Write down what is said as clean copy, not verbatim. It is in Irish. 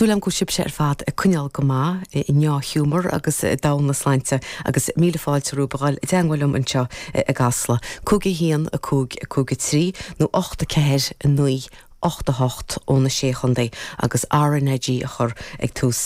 Súil agam go bhfuil sibhse ar fad ag coinneáil go maith, i ndea-ghiúmar agus i dtogha na sláinte agus míle fáilte romhaibh a dhul i dteangmháil liom anseo i gCasla. 5 1 5 5 3 nó 8 4 9 8 8 ó na Sé Chontae agus RnaG a chur ag tús.